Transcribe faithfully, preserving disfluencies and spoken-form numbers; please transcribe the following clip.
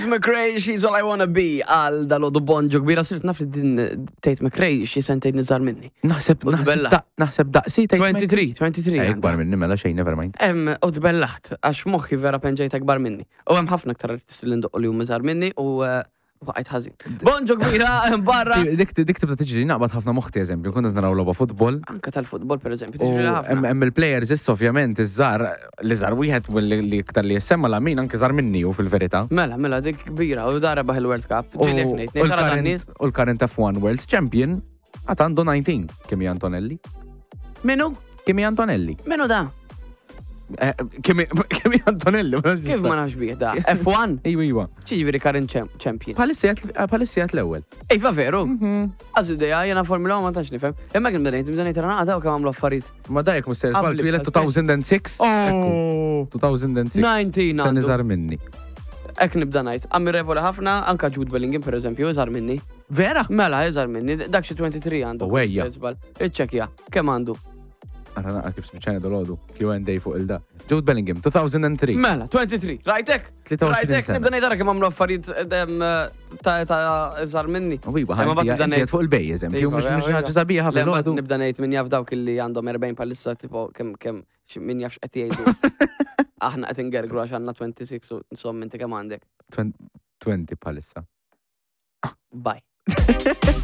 Tate McRae, "She's All I Wanna Be", għal dal-għodu bonġu kbira. Sirt naf li din Tate McRae xi sentejn iżgħar minni. Naħseb, U naħseb, tbellaħ. da- naħseb daqsi Tate tlieta u għoxrin, tlieta u għoxrin. Eh, Ikbar minni mela xejn, never mind. Em, u tbellaħt, għax moħħi vera penġejt akbar minni. U hemm ħafna aktar artisti li ndoqqu li huma iżgħar minni u eh, waqajt ħażin. Bonġu kbira, barra. Dik dik tibda tiġri naqbad ħafna moħti, eżempju, kont qed naraw logħba futbol. Anka tal-futbol, per eżempju, U tiġri hemm ħafna. Hemm il-players issa, ovvjament iż-żgħar li żgħar wieħed u li li iktar li jissemma Lamin, anke żgħar minni u fil-verità. Mela, mela, dik kbira, u dara baħ il-World Cup. U Ġieli jekk ngħid, u ngħid tara dan l-current nies. u l-current F one World Champion għad għandu dsatax, Kimi Antonelli. Minu? Kimi Antonelli. Minu da? Eh, Kimi Kimi Antonelli. Ma nafx Kif ma nafx bih da? F one? Iwa, iwa. Ġifieri current champ- champion. Bħalissa jgħat- bħalissa jgħat l-ewwel. Iva veru. Għaż ideja, jena Formula one ma tantx nifhem. Imma kien bdejt, bdejt nara daw kemm għamlu affarijiet. Ma dajk mhux ser żball Qabli twieled elfejn u sitta. Oh! elfejn u sitta. dsatax Sen għandu. iżgħar minni. Ek nibda ngħid. Ammirevoli ħafna, anka Jude Bellingham, per eżempju, iżgħar minni. Vera? Mela, iżgħar minni, dak xi tlieta u għoxrin għandu. U ejja. Żball. Iċċekkja, kemm għandu? Ara naqa kif spiċċajna dal-għodu. Q and A fuq il-da. Jude Bellingham, elfejn u tlieta. Mela, tlieta u għoxrin. Rajtek? tlieta u għoxrin Rajtek, sena. nibda ngħid ara kemm għamlu affarijiet em, ta' ta' iżgħar minni. U iwa, Imma ħanti mbagħad nibda għed ngħid- fuq il-bej, eżempju, Iva, mhux mhux iva. ħaġa sabiħa Le, mbagħad fil-għodu. nibda ngħid min jaf dawk illi għandhom erbgħin palissa, tipo kemm kemm xi- min jaf x'qed jgħidu. Aħna qed ingergru għax għandna sitta u għoxrin u insomma inti kemm għandek? għoxrin bħalissa. Bye.